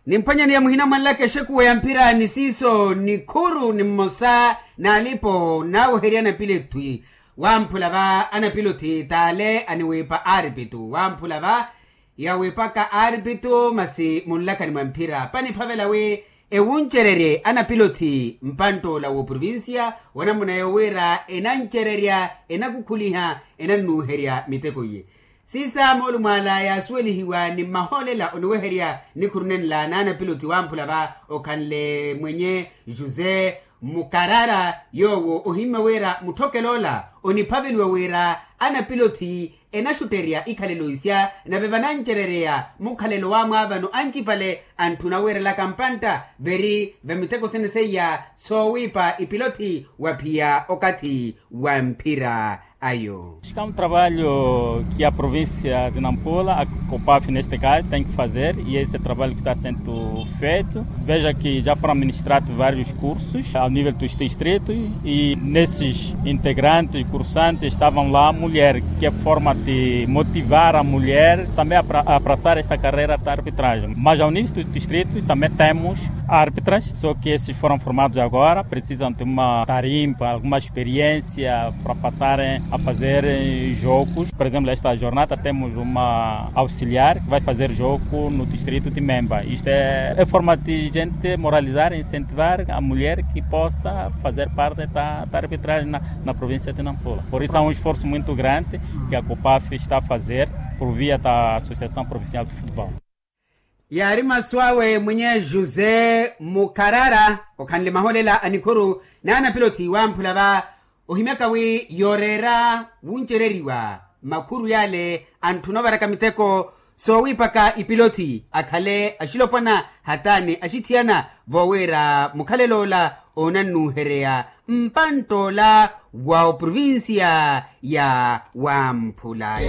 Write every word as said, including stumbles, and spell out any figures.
Nimphwanyaneya muhina mwanlaka exekuwa ya mphira ni siiso nikhuru ni mmosa n'alipo naaweherya anapilothi wamphula va anapilothi t'ale aniwiipa aaripitu wamphula va yawiipaka aaripitu masi munlakani mwa mphira paniphavela wi ewuncererye anapilothi mpantt'ola w'oprovincia wanamuna yowira enancererya enakukhuliha enannuuherya miteko iye. Siisa moolumo ala yaasuwelihiwa ni mmahoolela oniweherya nikhuru nenla n'anapilothi wamphula va okhanle mwenye josé mukarara yoowo ohimmya wira mutthokel'ola oniphaveliwa wira anapilothi enaxutterya ikhalelo isya nave vanancerereya mukhalelo wamwaavano ancipale antthuna wiirelaka mpantta veri vamiteko sene seiya soowiipa ipilothi waphiya okathi wa mphira ayo. Acho que é um trabalho que a província de Nampula, a copaf neste caso, tem que fazer, e esse trabalho que está sendo feito. Veja que já foram ministrados vários cursos ao nível dos distritos e nesses integrantes, cursantes, estavam lá mulheres, que é forma de motivar a mulher também a abraçar esta carreira da arbitragem. Mas ao nível do distrito também temos árbitras, só que esses foram formados agora, precisam de uma tarimpa, alguma experiência para passarem a fazer jogos. Por exemplo, esta jornada temos uma auxiliar que vai fazer jogo no distrito de Memba. Isto é, é forma de gente moralizar e incentivar a mulher que possa fazer parte da, da arbitragem na, na província de Nampula. Por isso há um esforço muito grande que a copaf está a fazer por via da Associação Provincial de Futebol. Yaari masu awe mwinye josé mukharara okhanle maholela a nikhuru n'anapilothi wamphula va ohimyaka wi yooreera wuncereriwa makhuru yale antthuna ovaraka miteko soowiipaka ipilothi akhale axilopwana hata ni axithiyana voowira mukhalelo ola onannuuhereya mpantt'ola wa oprovincia ya wamphula.